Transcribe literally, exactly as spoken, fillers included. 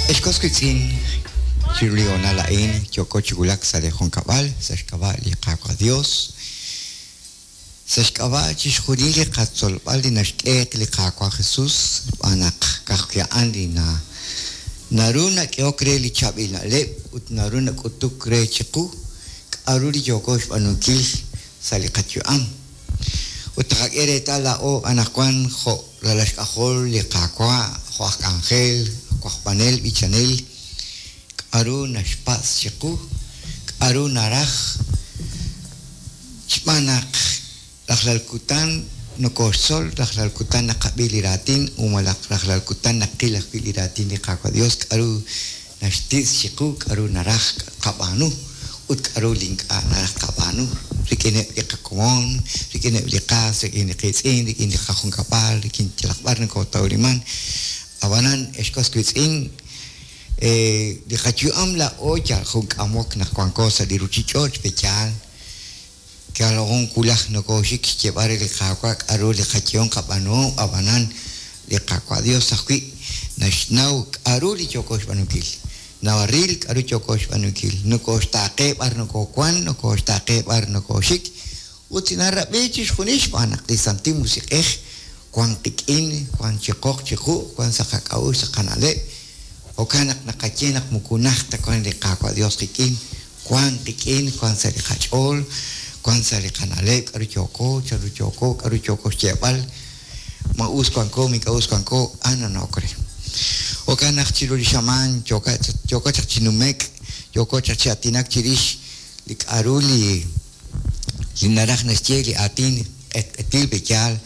Ex was wiitz'in, chiru li hoonal a'in yooko chi wulak sa' li junkab'al, sa' xk'ab'a' li Qaawa' Dios, sa' xk'ab'a' chixjunil li qatzolb'al li naxk'e li Qaawa' Jesus, xb'aan naq ka'ajwi' a'an li na naru nak'ehok re li chaab'il na'leb' ut naru nak'utuk re chiqu k'a'ru li yooko xb'aanunkil sa' li qayu'am. Ut taqak'e reetal laa'o anaqwan jo' ralal xk'ajol li Qaawa', jo' aj k'anjel, wajb'anel, b'ichanel, k'a'ru naxpatz' chiqu, k'a'ru naraj, xb'aan naq rajlal kutan nokoxtzol, rajlal kutan naqab'i li raatin, u malaj rajlal kutan naqil ajwi' li raatin li Qaawa' Dios, k'a'ru naxtitz' chiqu, k'a'ru naraj qab'aanu ut k'a'ru li ink'a' naraj qab'aanu rik'ineb' li qakomon, rik'ineb' li qas, rik'in li qiitz'in, rik'in li qajunkab'al, rik'in yalaq b'ar nokotawliman. Ab'anan, ex was wiitz'in, li qayu'am laa'o yal jun k'amok naq wanko sa' li ruchich'och' pe'yaal yal jun wulaj nokoxik xyeeb'al re li Qaawa' k'a'ru li qayehom qab'aanuhom, ab'anan li Qaawa' Dios ajwi' naxnaw k'a'ru li yooko xb'aanunkil, naril k'a'ru yooko xb'aanunkil, nokoxtaaqe b'ar nokowan, nokoxtaaqe b'ar nokoxik, ut narab'i chixjunil xb'aan naq li Santil Musiq'ej wan qik'in, wan chiqoq chiqu', wan sa' qak'a'uxl sa' qana'leb'. Jo'kan naq naqaye naq moko najt ta wan li Qaawa' Dios qik'in, wan qik'in, wan sa' li qach'ool, wan sa' li qana'leb', k'a'ru yooko, chanru yooko, k'a'ru yooko xyeeb'al, ma us wanko, ma ink'a' us wanko, a'an nanawok re. Jo'kan naq chiru li xamaan yooko yooko chaq chi numek', yooko chaq chi aatinak chirix li k'a'ru li li naraj naxye li aatin q'etq'etil pe'yaal.